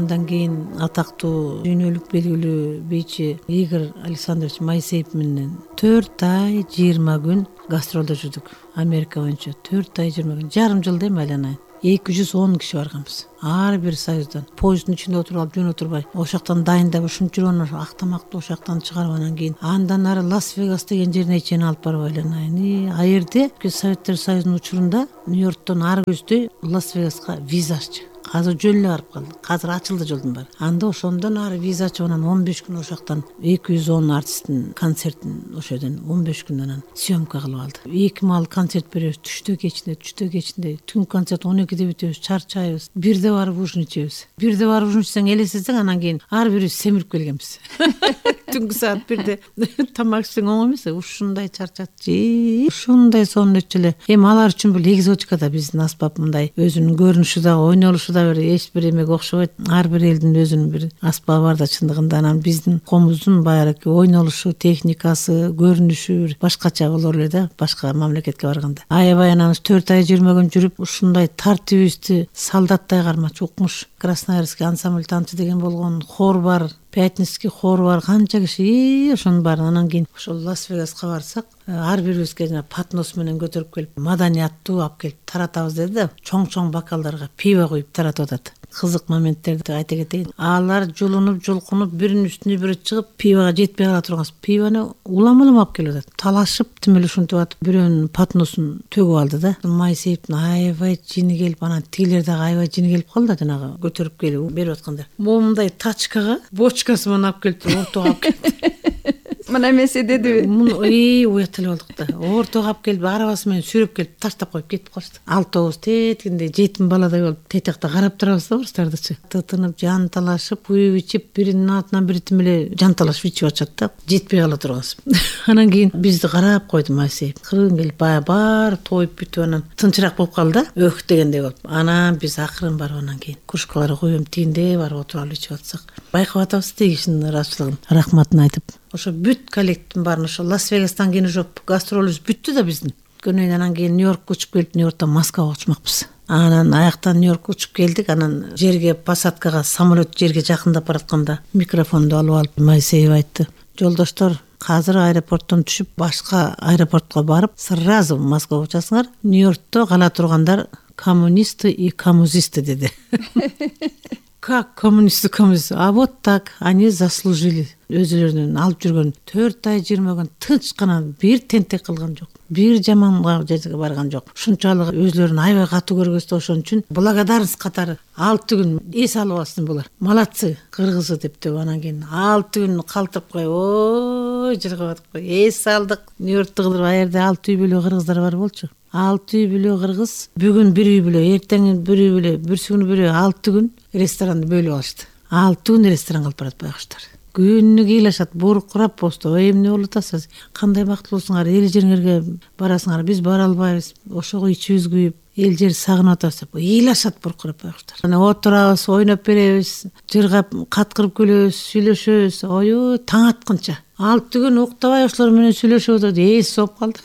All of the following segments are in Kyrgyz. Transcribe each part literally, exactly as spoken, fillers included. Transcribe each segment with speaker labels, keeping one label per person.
Speaker 1: Андан кийин атактуу дүйнөлүк белгилүү бийчи Игорь Александрович Моисеев менен төрт ай жыйырма күн гастролдо жүрдүк. Америка боюнча төрт ай жыйырма күн, жарым жыл дейм айланайын. эки жүз он киши барганбыз. Ар бир союздан. Поезддин ичинде отуруп алып жөн отурбай, ошоктон дайындап ушунча актамакты ошоктон чыгарып анан кийин андан ары Лас-Вегас деген жерине чейин алып барып айланайын. А жерде Советтер Союзунун учурунда Нью-Йорктон ары көздөй Лас-Вегаска виза аччы. Азыр жөн эле барып калды. Азыр ачылды жолдун баары. Анда ошондон ары виза ачып анан он беш күн ошоктон эки жүз он артисттин концертин ошол жерден он беш күн анан съемка кылып алды. Эки маал концерт беребиз, түштө кечинде, түштө кечинде. Түн концерт он экиде бүтөбүз, чарчайбыз. Бирде барып ужин ичебиз. Бирде барып ужин ичсең элестетсең анан кийин ар бирибиз семирип келгенбиз. Түнкү саат бирде тамак ичсең оңой эмес, ушундай чарчатчы, ушундай сонун өтчү эле. Эми алар үчүн бул экзотика да, биздин аспап мындай өзүнүн көрүнүшү да, ойнолушу да бир эч бир эмеге окшобойт. Ар бир элдин өзүнүн бир аспабы бар да чындыгында. Анан биздин комуздун баягы ойнолушу, техникасы, көрүнүшү башкача болор эле да, башка мамлекетке барганда. Аябай анан төрт ай жыйырма күн жүрүп, ушундай тартибибизди солдаттай кармачу укмуш. Красноярский ансамбль танцы деген болгон, хор бар, Пятницкий хор бар, канча киши, ошонун баарын анан кийин ошол Лас-Вегаска барсак, ар бирибизге жана патнос менен көтөрүп келип, маданияттуу алып келип таратабыз деди да, чоң-чоң бокалдарга пиво куюп таратып атат. Кызык моменттерди айта кетейин. Алар жулунуп, жулкунуп, биринин үстүнө бири чыгып, пивога жетпей кала турган пивону улам-улам алып келип атат. Талашып, тим эле ушинтип атып, бирөөнүн патносун төгүп алды да. Моисеевдин аябай жини келип, анан тигилер дагы аябай жини келип калды, жанагы көтөрүп келип берип аткандар. Момундай тачкага бочкасы менен алып келип, ортого алып келип.
Speaker 2: Мына эмесе дедиби?
Speaker 1: Муну эй уят эле болдук да. Ортого алып келип, арабасы менен сүрөп келип, таштап коюп кетип калышты. Алтообуз теткинде жетим баладай болуп, тетекте карап турабыз да орустардычы. Тытынып, жанталашып, куюп ичип, биринин артынан бири тим эле жанталашып ичип атышат да. Жетпей кала турганбыз. Анан кийин бизди карап койду Моисеев. Кыргын келип, бая бар тоюп бүтүп анан тынчыраак болуп калды да, өк дегендей болуп. Анан биз акырын барып анан кийин кружкаларга коюм тигинде барып отуруп алып ичип атсак, байкап атабыз тиги кишинин ыраазычылыгын, рахматын айтып. Ошо бүт коллективдин баарын ошо Лас-Вегастан кийин ошо гастролубуз бүттү да биздин. Көнөйүн анан кийин Нью-Йоркко учуп келип, Нью-Йорктон Москвага учмакпыз. Анан аяктан Нью-Йоркко учуп келдик, анан жерге посадкага, самолет жерге жакындап баратканда микрофонду алып алып Моисеев айтты: "Жолдоштор, азыр аэропорттон түшүп, башка аэропортко барып, сразу Москвага учасыңар. Нью-Йоркто кала тургандар коммунисты и коммузисты" деди. Как коммунисты коммунист? А вот так они заслужили. Өзүлөрүнүн алып жүргөн төрт ай жыйырма күн тынч гана, бир тентек кылган жок, бир жаманга жерге барган жок. Ушунчалык өзүлөрүн аябай катуу көргөзүп, ошон үчүн благодарность катары алты күн эс алып алсын булар. Молодцы, кыргызы деп деп анан кийин алты күн калтырып коюп, ой жыргап атып, эс алдык. Нью-Йоркту кылдырып, а жерде алты үй бүлө кыргыздар бар болчу. алты үй бүлө кыргыз, бүгүн бир үй бүлө, эртең бир үй бүлө, бүрсүгүнү бир үй, алты күн ресторанды бөлүп алышты. алты күн ресторан кылып барат байкуштар. Күнү кыйлашат, буркурап посту. Ой, эмне болуп атасыз? Кандай бактылуусуңар? Эл жериңерге барасыңар, биз бара албайбыз. Ошого ичибиз күйүп, эл жер сагынып атабыз деп ыйлашат буркурап байкуштар. Анан отурабыз, ойноп беребиз, жыргап, каткырып күлөбүз, сүйлөшөбүз. Ой, таң атканча. алты күн уктабай ошолор менен сүйлөшүп атат, эс соп калды.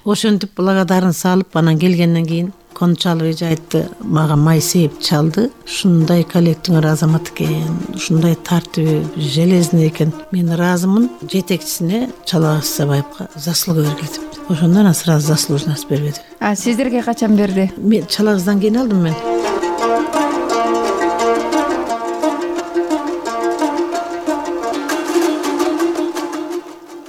Speaker 1: Ошентип благодарность салып, анан келгенден кийин Кончалов эже айтты, мага Моисеев чалды. Ушундай коллективиңер азамат экен, ушундай тартиби железный экен. Мен ыраазымын, жетекчисине Чалак Сабаевга заслуга бергиле деп. Ошондон сразу заслуженность бербеди.
Speaker 2: А сиздерге качан берди?
Speaker 1: Мен Чалагыздан кийин алдым мен.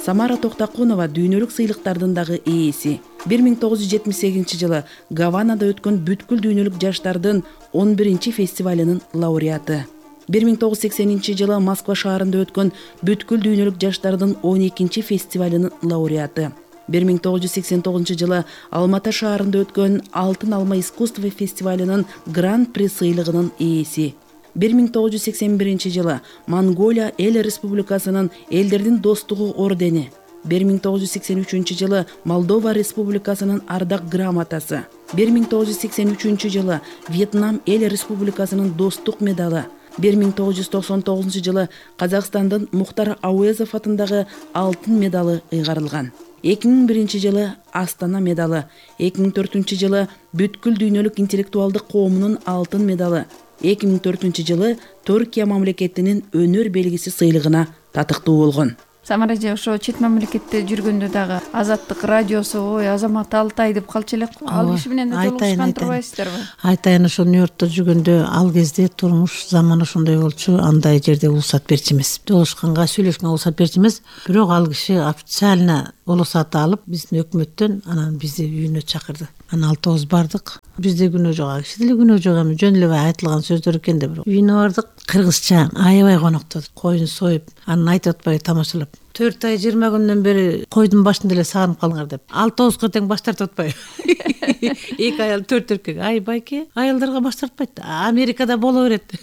Speaker 3: Самара Токтакунова дүйнөлүк сыйлыктардын дагы ээси. бир миң тогуз жүз жетимиш сегизинчи жылы Гаванада өткөн бүткүл дүйнөлүк жаштардын он биринчи фестивалынын лауреаты. бир миң тогуз жүз сексенинчи жылы Москва шаарында өткөн бүткүл дүйнөлүк жаштардын он экинчи фестивалынын лауреаты. бир миң тогуз жүз сексен тогузунчу жылы Алматы шаарында өткөн Алтын алма искусство фестивалынын гран-при сыйлыгынын ээси. бир миң тогуз жүз сексен биринчи жылы Монголия Эл Республикасынын Элдердин достугу ордени. бир миң тогуз жүз сексен үчүнчү жылы Молдова Республикасынын ардак грамотасы. бир миң тогуз жүз сексен үчүнчү жылы Вьетнам Эл Республикасынын достук медалы. бир миң тогуз жүз токсон тогузунчу жылы Казакстандын Мухтар Ауезов атындагы алтын медалы ыйгарылган. эки миң биринчи жылы Астана медалы, эки миң төртүнчү жылы бүткүл дүйнөлүк интеллектуалдык коомунун алтын медалы, эки миң төртүнчү жылы Түркия мамлекетинин өнөр белгиси сыйлыгына татыктуу болгон.
Speaker 2: Самара эже ошо чет мамлекетте жүргөндө дагы Азаттык радиосу ой Азамат Алтай деп калчу элек. Ал киши менен да жолугушкан турбайсыздарбы?
Speaker 1: Айтайын, ошо Нью-Йоркто жүргөндө ал кезде турмуш заман ошондой болчу, андай жерде уруксат берчү эмес. Жолугушканга, сүйлөшкөнгө уруксат берчү эмес. Бирок ал киши официально уруксат алып, биздин өкмөттөн анан бизди үйүнө чакырды. Анан алтыбыз бардык. Бизде күнөө жок, ал кишиде күнөө жок, эми жөн эле айтылган сөздөр экен да. Бирок үйүнө бардык, кыргызча аябай коноктодук. Койун союп, анан айтып атпайбы тамашалап. төрт ай жыйырма күндөн бери койдун башында эле сагынып калыңар деп. Алтыбызга тең баш тартып атпайбы. Эки аял, төрт эркек. Ай байке, аялдарга баш тартпайт. Америкада боло берет.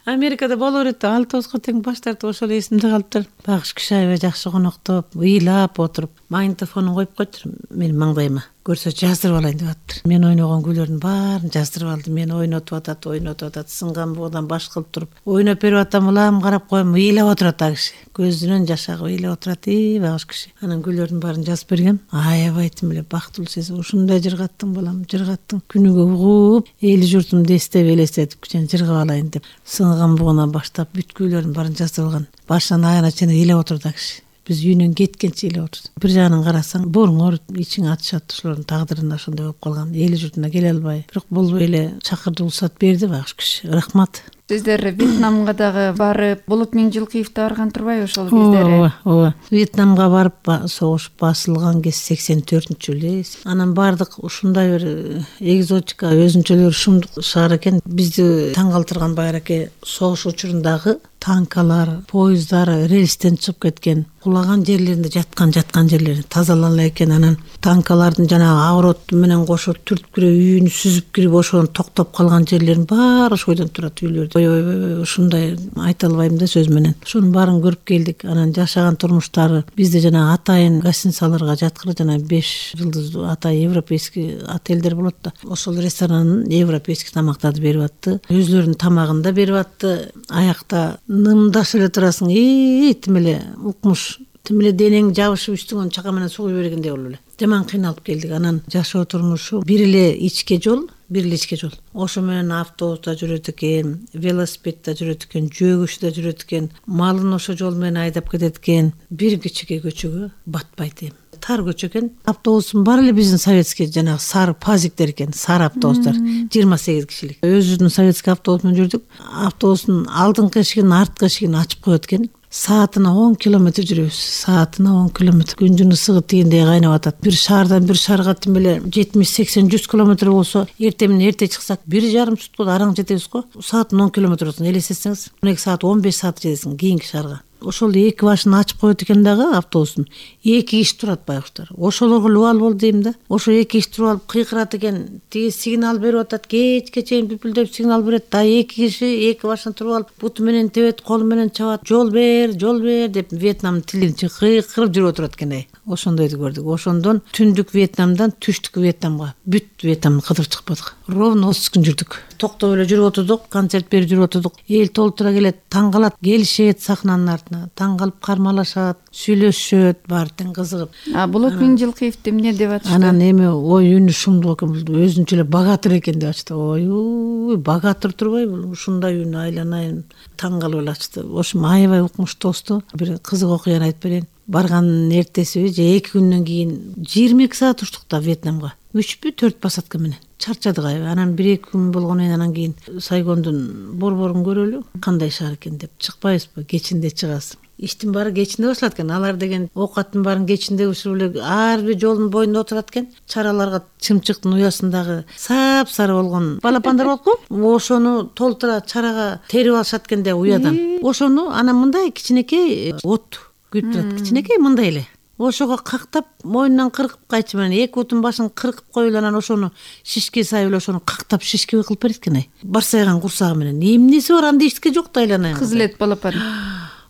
Speaker 1: Америкада боло берет. Алтыбызга тең баш тартып ошол эсимде калыптыр. Багыш киши аябай жакшы коноктоп, ыйлап отуруп, магнитофонун коюп койтур менин маңдайыма. Көрсө жаздырып алайын деп атыптыр. Мен ойногон күйлөрдүн баарын жаздырып алды. Мени ойнотуп атат, ойнотуп атат, сынган бугудан баш кылып туруп, ойноп берип атам, улам карап коем, ыйлап отурат ал киши. Көзүнөн жаш агып ыйлап отурат, и багыш киши. Анан күйлөрдүн баарын жазып бергем. Аябай тим эле бактылуу сезим. Ушундай жыргаттың балам, жыргаттың. Күнүгө угуп, эли журтумду эстеп элестетип, кичине жыргап алайын деп. Сынган бугунан баштап бүт күйлөрдүн баарын жаздырып алган. Башынан аягына чейин ыйлап отурду ал киши. Биз үйүнөн кеткенче эле отурду. Бир жагынан карасаң, бооруң ооруйт, ичиң атышат, ошолордун тагдырына ошондой болуп калган. Эли журтуна келе албай. Бирок болбой эле чакырды, уруксат берди багыш киши. Рахмат.
Speaker 2: Сиздер Вьетнамга дагы барып, Болот Миңжилкиевди барган турбайбы ошол кездери?
Speaker 1: Ооба, ооба. Вьетнамга барып, согуш басылган кез сексен төртүнчү жылы. Анан бардык, ушундай бир экзотика, өзүнчөлөр шумдук шаар экен. Бизди таң калтырган байраке согуш учурундагы танкалар, поездар рельстен чыгып кеткен, кулаган жерлеринде жаткан жаткан жерлери тазалана экен. Анан танкалардын жанагы огород менен кошо түртүп кирип, үйүнү сүзүп кирип, ошонун токтоп калган жерлерин баары ошойдон турат үйлөрдү. Ой, ушундай айта албайм да сөз менен. Ошонун баарын көрүп келдик. Анан жашаган турмуштары бизде жанагы атайын гостиницаларга жаткыры, жана беш жылдыздуу атай европейский отелдер болот да. Ошол ресторанын европейский тамактарды берип атты. Өзлөрүнүн тамагын да берип атты. Аякта нымдашып эле турасың, и тим эле укмуш, тим эле денең жабышып үстүңөн чака менен сугуй бергендей болуп эле. Жаман кыйналып келдик. Анан жашоо турмушу бир эле ичке жол, бир эле ичке жол. Ошо менен автобуста жүрөт экен, велосипедде жүрөт экен, жөгүчтө жүрөт экен, малын ошо жол менен айдап кетет экен. Бир кичике көчөгө батпайт эми. Тар көчө экен. Автобустун баары эле биздин советский жанагы сары пазиктер экен, сары автобустар, жыйырма сегиз кишилик. Өзүбүздүн советский автобус менен жүрдүк. Автобустун алдыңкы эшигин, арткы эшигин ачып коет экен. Саатына он километр жүрөбүз. Саатына он километр. Күндүн ысыгы тигиндей кайнап атат. Бир шаардан бир шаарга тим эле жетимиш сексен жүз километр болсо, эртең менен эрте чыксак бир жарым суткада араң жетебиз го. Саатына он километр болсун элестетсеңиз, он эки саат, он беш саат жетесиң кийинки шаарга. Ошол эки башын ачып коет экен дагы автобустун. Эки киши турат байкуштар. Ошолорго лубал болду дейм да. Ошо эки киши туруп алып кыйкырат экен. Тиги сигнал берип атат. Кечке чейин бүпүлдөп сигнал берет. Да эки киши эки башын туруп алып буту менен тебет, колу менен чабат. Жол бер, жол бер деп Вьетнам тилинче кыйкырып жүрүп отурат экен ай. Ошондойду көрдүк. Ошондон түндүк Вьетнамдан түштүк Вьетнамга, бүт Вьетнамды кыдырып чыкпадык. Ровно отуз күн жүрдүк. Токтоп эле жүрүп отурдук, концерт берип жүрүп отурдук. Эл толтура келет, таң калат, келишет сахнанын артына. Таң калып кармалашат, сүйлөшөт, баары тең кызыгып.
Speaker 2: А Болот Миңжилкиевди эмне деп атышты?
Speaker 1: Анан эми ой үнү шумдук экен, бул өзүнчө эле богатыр экен деп ачты. Ой, богатыр турбайбы? Ушундай үнү айланайын, таң калып эле ачты. Ошо аябай укмуш тосту. Бир кызык окуяны айтып берейин. Барганын эртесиби же эки күндөн кийин жыйырма эки саат учтук да Вьетнамга. Үчпү төрт посадка менен. Чарчадык ай. Анан бир эки күн болгондон кийин анан кийин Сайгондун борборун көрөлү, кандай шаар экен деп чыкпайбызбы? Кечинде чыгасың. Иштин баары кечинде башталат экен. Алар деген оокаттын баарын кечинде бышырып эле ар бир жолдун боюнда отурат экен. Чараларга чымчыктын уясындагы сап-сары болгон балапандар болот го. Ошону толтура чарага терип алышат экен да уядан. Ошону анан мындай кичинекей от күйүп турат, кичинекей мындай эле. Ошого кактап, мойнунан кыркып кайчы менен эки бутун башын кыркып коюп эле анан ошону шишке сайып эле ошону кактап шишке кылып берет экен ай. Барсайган курсагы менен. Эмнеси бар анда эчтеке жок да айланайын.
Speaker 2: Кызылет балапан.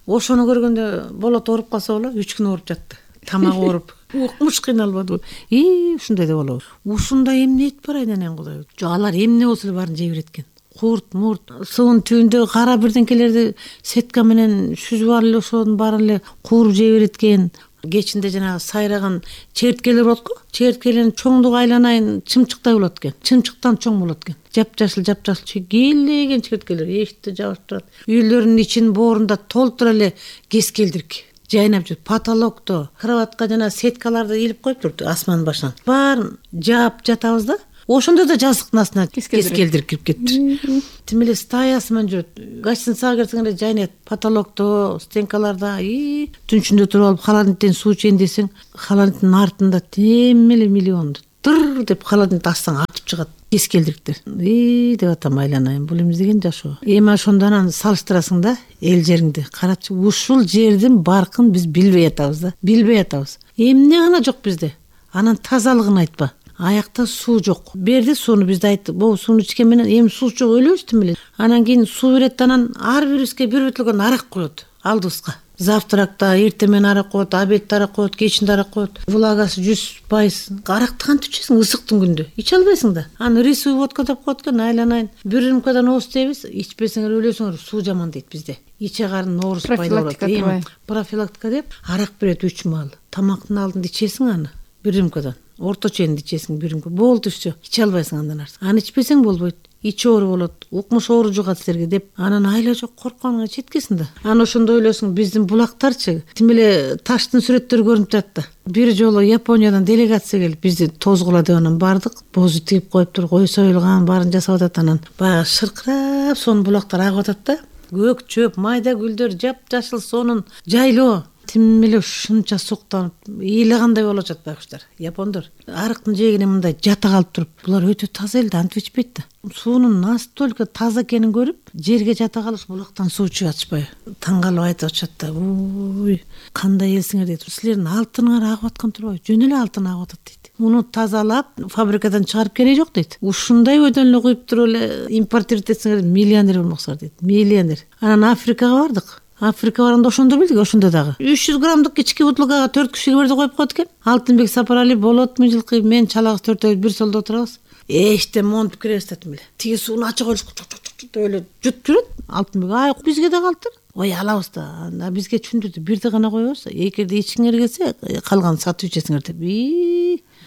Speaker 1: Ошону көргөндө Болот ооруп калса боло, үч күн ооруп жатты. Тамагы ооруп. Укмуш кыйналбадыбы? И, ушундай да болобу? Ушундай эмне бар айнанайын Кудай. Жок, алар эмне болсо эле баарын жей берет экен. Курт, мурт, суунун түбүндө кара бирдеңкелерди сетка менен сүзүп алып эле ошонун баарын эле кууруп жей берет экен. кечинде жанагы сайраган черткелер болот го. Черткелердин чоңдугу айланайын чымчыктай болот экен. Чымчыктан чоң болот экен. Жапжашыл жапжашыл чегелеген черткелер эшикти жабып турат. Үйлөрдүн ичин боорунда толтура эле кескелдирик жайнап жүр. Потолокто, кроватка жана сеткаларды илип коюп турду асман башынан. Баарын жаап жатабыз да. Ошондо да жазыктын астына кескелдирик кирип кетиптир. Тим эле стаясы менен жүрөт. Гостиницага кирсең эле жайнайт. Потолокто, стенкаларда, и түнчүндө туруп алып холодильниктен суу ичейин десең, холодильниктин артында тем эле миллионду тыр деп холодильникти ачсаң атып чыгат кескелдириктер. И деп атам айланайын, бул эмне деген жашоо. Эми ошондон анан салыштырасың да эл жериңди. Карачы, ушул жердин баркын биз билбей атабыз да. Билбей атабыз. Эмне гана жок бизде. Анан тазалыгын айтпа. Аякта суу жок. Берди сууну, бизде айтты. Бул сууну ичкен менен эми суу жок өлөбүз тим эле. Анан кийин суу берет, анан ар бирибизге бир бөтөлгөн арак коет алдыбызга. Завтракта, эртең менен арак коет, обедте арак коет, кечинде арак коет. Влагасы жүз пайыз. Аракты кантип ичесиң ысыктын күндө? Иче албайсың да. Анан рисовый водка деп коет экен, айланайын. Бир рюмкадан ооз дейбиз, ичпесеңер өлөсүңөр, суу жаман дейт бизде. Иче карын оорус пайда болот. Эми профилактика деп арак берет үч маал. Тамактын алдында ичесиң аны бир рюмкадан. Орточо энди ичесиң бир рюмка. Болду все. Иче албайсың андан арты. Аны ичпесең болбойт. Ичи оору болот, укмуш оору жугат силерге деп анан айла жок коркконуңа жеткесиң да. Анан ошондо ойлосуң, биздин булактарчы тим эле таштын сүрөттөрү көрүнүп турат да. Бир жолу Япониядан делегация келип бизди тозгула деп анан бардык. Бозу тигип коюптур, кой союлган, баарын жасап атат. Анан баягы шыркырап сонун булактар агып атат да. Көк чөп, майда гүлдөр, жапжашыл сонун жайлоо. Тим эле ушунча суктанып, ыйлагандай болуп атат байкуштар. Япондор арыктын жээгине мындай жата калып туруп, булар өтө таза элди, антип ичпейт да. Суунун настолько таза экенин көрүп, жерге жата калыш, булактан суу ичип атышпайбы. Таң калып айтып атышат да. Ой, кандай элсиңер дейт. Силердин алтыныңар агып аткан турбайбы? Жөн эле алтын агып атат дейт. Муну тазалап, фабрикадан чыгарып кереги жок дейт. Ушундай өйдөн эле куюп туруп эле импортировать этсеңер миллионер болмоксуңар дейт. Миллионер. Анан Африкага бардык. Африка барганда ошондо билдик, ошондо дагы үч жүз граммдык кички бутылкага төрт кишиге бирдей коюп коет экен. Алтынбек Сапарали, болотмун жылкы, мен чалагыз төртөөбүз бир столдо отурабыз. Эчтен монтуп киребиз да эле. Тиги сууну ача коюш деп эле жутуп жүрөт. Алтынбек, ай, бизге да калтыр. Ой, алабыз да. Бизге түшүндүрдү, бирди гана коебуз. Эгерде ичиңер келсе, калганын сатып ичесиңер деп.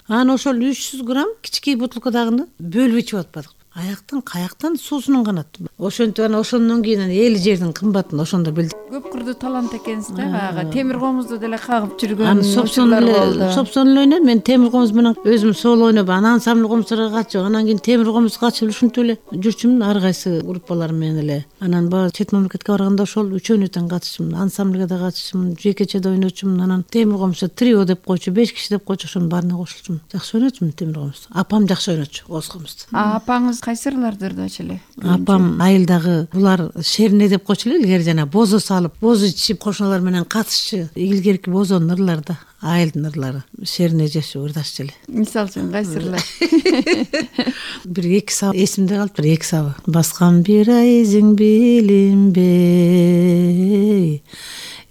Speaker 1: Анан ошол үч жүз грамм кички бутылкадагыны бөлүп ичип атпадык. Аяктан каяктан суусунун канат. Ошентип анан ошондон кийин эл жердин кымбатын ошондо билдик.
Speaker 2: Көп кырдуу талант экенсиз да, баягы темир комузду деле кагып жүргөн
Speaker 1: учурлар болду. Собсон эле ойнойм. Мен темир комуз менен өзүм соло ойноп, анан ансамбль комуздарга катышып, анан кийин темир комуз катышып ушинтип эле жүрчүмүн ар кайсы группалар менен эле. Анан баягы чет мамлекетке барганда ошол үчөөнү тең катышым, ансамбльга да катышым, жекече да ойночумун. Анан темир комузда трио деп койчу, беш киши деп койчу, ошонун баарына кошулчумун. Жакшы ойночумун темир комузду. Апам жакшы ойночу оз комузду.
Speaker 2: А апаңыз кайсы ырлардырдачы эле?
Speaker 1: Апам айылдагы булар шерне деп койчу эле, илгери жана бозо салып, бозо ичип кошуналар менен катышчы. Илгерки бозонун ырларда, айылдын ырлары. Шерне жеши ырдашчу эле.
Speaker 2: Мисалы үчүн кайсы ырлар?
Speaker 1: Бир эки сабы эсимде калыптыр, эки сабы. Баскан бир айзиң билинбей,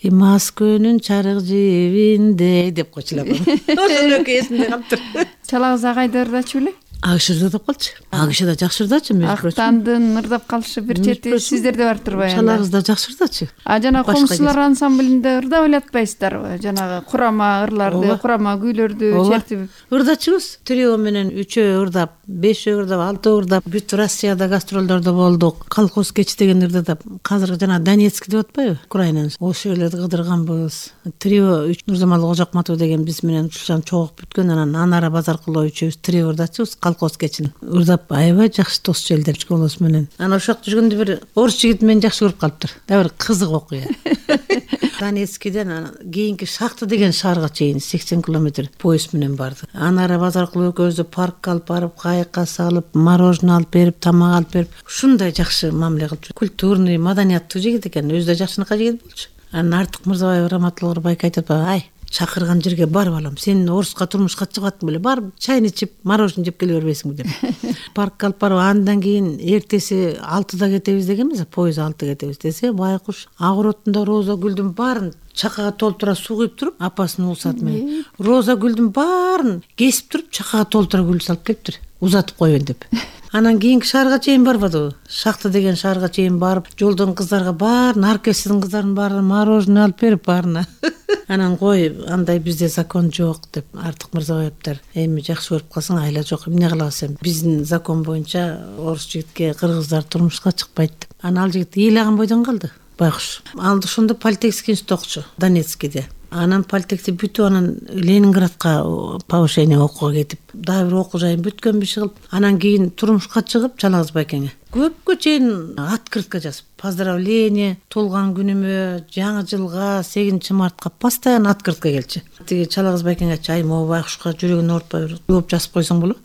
Speaker 1: Москөнүн чарык жебинде деп койчу эле апам. Ошол экөө эсимде калыптыр.
Speaker 2: Чалагыз агайды ырдачу беле?
Speaker 1: Агыш ырдап калчу. Агыш да жакшы ырдачу, мөжбүр.
Speaker 2: Актандын ырдап калышы бир чети сиздерде бар турбайбы?
Speaker 1: Чалагыз да жакшы ырдачу.
Speaker 2: А жана комузчулар ансамблинде ырдап эле атпайсыздарбы? Жанагы курама ырларды, курама күүлөрдү чертип.
Speaker 1: Ырдачубуз. Трио менен үчөө ырдап, бешөө ырдап, алтөө ырдап, бүт Россияда гастролдордо болдук. Колхоз кеч деген ырдап, азыр жана Донецк деп атпайбы? Украинанын. Ошол эле кыдырганбыз. Трио Нурзамал Кожокматов деген биз менен ушулчан чогуп бүткөн, анан Анара Базаркулова үчөөбүз трио ырдачубуз. Колхоз кечин ырдап, аябай жакшы дос желдер школасы менен. Анан ошол жакта жүргөндө бир орус жигит мени жакшы көрүп калыптыр. Да бир кызык окуя. Донецкиден кийинки Шахта деген шаарга чейин сексен километр поезд менен барды. Анара Базаркулова экөөбүздү паркка алып барып, кайыкка салып, мороженое алып берип, тамак алып берип, ушундай жакшы мамиле кылып, культурный, маданияттуу жигит экен, өзү да жакшынакай жигит болчу. Анан Артык Мырзабаев раматылык байка айтып, ай, чакырган жерге барып алам. Сен Оруска турмушка чыгаттың беле? Барып чайны ичип, мороженое жеп келе бербейсиңби деп. Паркка алып барып, андан кийин эртеси алтыда кетебиз дегенбиз, поезд алтыда кетебиз десе, байкуш Агыротунда роза гүлдүн баарын чакага толтура суу куюп туруп, апасынын уусаты менен роза гүлдүн баарын кесип туруп, чакага толтура гүл салып келиптир. Узатып коеюн деп. Анан кийинки шаарга чейин барбадыбы? Шахта деген шаарга чейин барып, жолдон кыздарга баарын, оркестрдин кыздарынын баарына мороженое алып берип, баарына Анан кой андай бизде закон жок деп Артык Мырзабаевдер эми жакшы көрүп калсаң айла жок эмне кылабыз эми биздин закон боюнча орус жигитке кыргыздар турмушка чыкпайт деп. Анан ал жигит ыйлаган бойдон калды байкуш. Ал ошондо политехский институтта окучу Донецкийде. Анан политехти бүтүп анан Ленинградка повышение окууга кетип дагы бир окуу жайын бүткөн биши кылып анан кийин турмушка чыгып Чалагыз Байкеңе көпкө чейин открытка жазып поздравление туулган күнүмө жаңы жылга сегизинчи мартка постоянно открытка келчү. Тиги Чалагыз Байкеңе айтчу ай могу байкушка жүрөгүн оорутпай бир жооп жазып койсоң болот.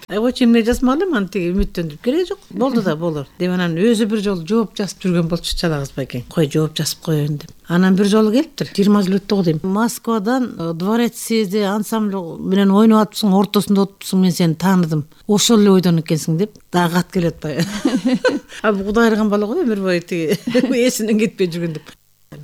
Speaker 1: Ай койчу эмне жазмак элем аны тиги үмүттөндүрүп кереги жок болду да болор деп анан өзү бир жолу жооп жазып жүргөн болчу Чалагыз Байкең. Кой жооп жазып коеюн деп. Анан бир жолу келиптир жыйырма жыл өттү го дейм. Москвадан дворец съезди ансамбль менен ойноп атыпсың, ортосунда отурсуң, мен сени тааныдым. Ошол эле ойдон экенсиң деп дагы кат келип атпайбы. А Кудай ырган бала го өмүр бою тиги эсинен кетпей жүргөн деп.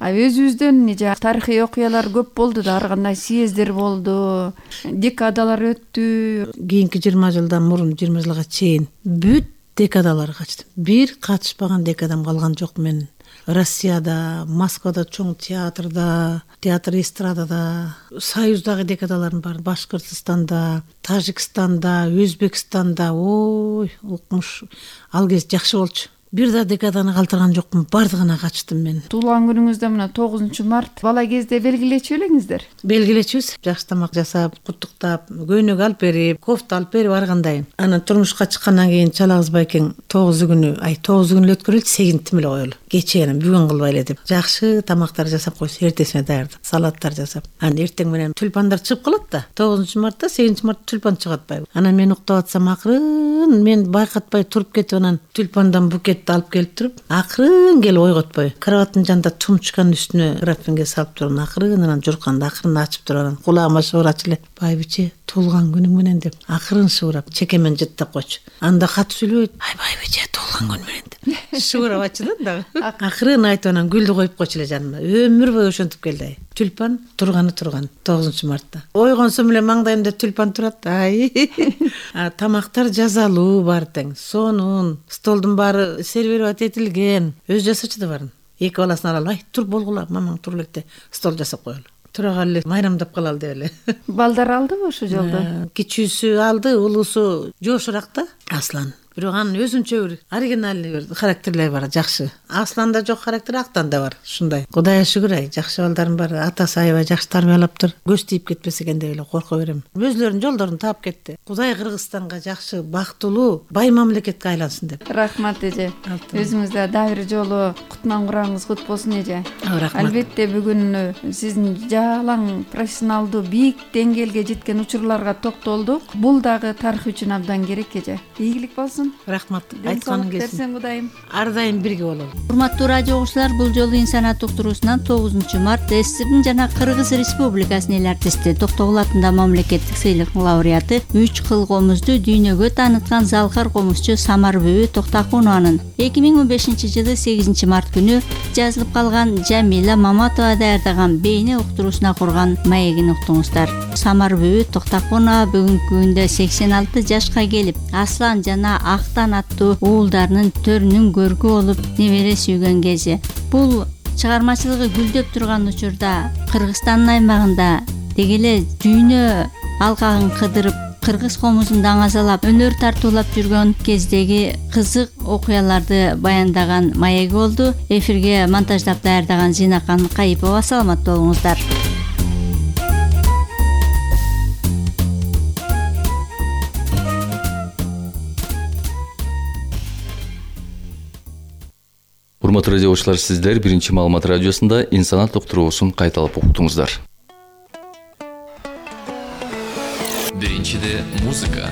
Speaker 2: А өзүбүздөн эже тарыхый окуялар көп болду да, ар кандай съездер болду, декадалар өттү. Кийинки
Speaker 1: жыйырма жылдан мурун жыйырма жылга чейин бүт декадалар качтым. Бир катышпаган декадам калган жок менин. Россияда, Москвада, чоң театрда, театр эстрадада, Союздагы декадалардын баары, Башкыртстанда, Тажикстанда, Өзбекстанда, ой, укмуш. Ал кез жакшы болчу. Бир да декаданы калтырган жокмун, бардыгына качтым мен.
Speaker 2: Туулган күнүңүздө мына тогузунчу март бала кезде белгилечү элеңиздер?
Speaker 1: Белгилечүбүз. Жакшы тамак жасап, куттуктап, көйнөк алып берип, кофта алып берип аргандайын. Анан турмушка чыккандан кийин Чалагыз Байкең тогузу күнү, ай тогузу күнү өткөрүлчү, сегизинчи эле коелу. Кечээ анан бүгүн кылбайлы деп. Жакшы тамактар жасап койсо, эртесине даярдап, салаттар жасап. Анан эртең менен тюльпандар чыгып калат да. тогузунчу мартта, сегизинчи мартта тюльпан чыгып атпайбы. Анан мен уктап атсам акырын мен байкатпай туруп кетип анан тюльпандан букет алып келип туруп, акырын келип ойготпой, кроваттын жанында тумчканын үстүнө графинге салып туруп, акырын анан журканды акырын ачып туруп, анан кулагыма шыбырачу эле. Байбиче, туулган күнүң менен деп, акырын шыбырап, чекемен жыттап койчу. Анда катып сүйлөбөйт. Ай байбиче, туулган күнүң менен деп. Шыбырап ачы да дагы. Акырын айтып анан гүлдү коюп койчу эле жаныма. Өмүр бою ошентип келди ай. Тюльпан турганы турган тогузунчу мартта. Ойгонсом эле маңдайымда тюльпан турат. Ай. Тамактар жазалуу баары тең. Сонун, столдун баары сервировать этилген. Өз жасачу да барын. Эки баласын ала алып, ай тур болгула, мамаң тур электе стол жасап коелу. Тура калып эле майрамдап калалы деп эле.
Speaker 2: Балдар алдыбы ошол жолдо?
Speaker 1: Кичүүсү алды, улуусу жошураак да. Аслан. Бирок анын өзүнчө бир оригинальный бир характерлери бар, жакшы. Асланда жок характер, Актан да бар, ушундай. Кудайга шүгүр ай, жакшы балдардын баары атасы аябай жакшы тарбиялаптыр. Көз тийип кетпесе экен деп эле корко берем. Өзүлөрүнүн жолдорун таап кетти. Кудай Кыргызстанга жакшы, бактылуу, бай мамлекетке айлансын деп.
Speaker 2: Рахмат эже. Өзүңүздө дагы бир жолу кутман кураңыз кут болсун эже.
Speaker 1: Рахмат.
Speaker 2: Албетте бүгүн сиздин жалаң профессионалдуу бийик деңгээлге жеткен учурларга токтолдук. Бул дагы тарых үчүн абдан керек эже. Ийгилик болсун.
Speaker 1: Рахмат. Айтканың
Speaker 2: келсин. Кудайым.
Speaker 1: Ар дайым бирге бололу.
Speaker 4: Урматтуу радио угуучулар, бул жолу инсаният уктуруусунан тогузунчу март СССРдин жана Кыргыз Республикасынын эл артисти, Токтогул атындагы мамлекеттик сыйлыктын лауреаты, үч кыл комузду дүйнөгө тааныткан залкар комузчу Самарбүбү Токтокунованын эки миң он бешинчи жылы сегизинчи март күнү жазылып калган Жамила Маматова даярдаган бейне уктуруусуна курган маегин уктуңуздар. Самарбүбү Токтокунова бүгүнкү күндө сексен алты жашка келип, Аслан жана Актан аттуу уулдарынын төрүнүн көркү болуп небере сүйгөн кези. Бул чыгармачылыгы гүлдөп турган учурда Кыргызстандын аймагында деги эле дүйнө алкагын кыдырып, кыргыз комузун даңазалап, өнөр тартуулап жүргөн кездеги кызык окуяларды баяндаган маеги болду. Эфирге монтаждап даярдаган Зинакан Кайыпова. Саламат болуңуздар.
Speaker 5: Урматтуу радио угуучулар, сиздер биринчи маалымат радиосунда инсаният уктуруусун кайталап уктуңуздар. Биринчиде музыка.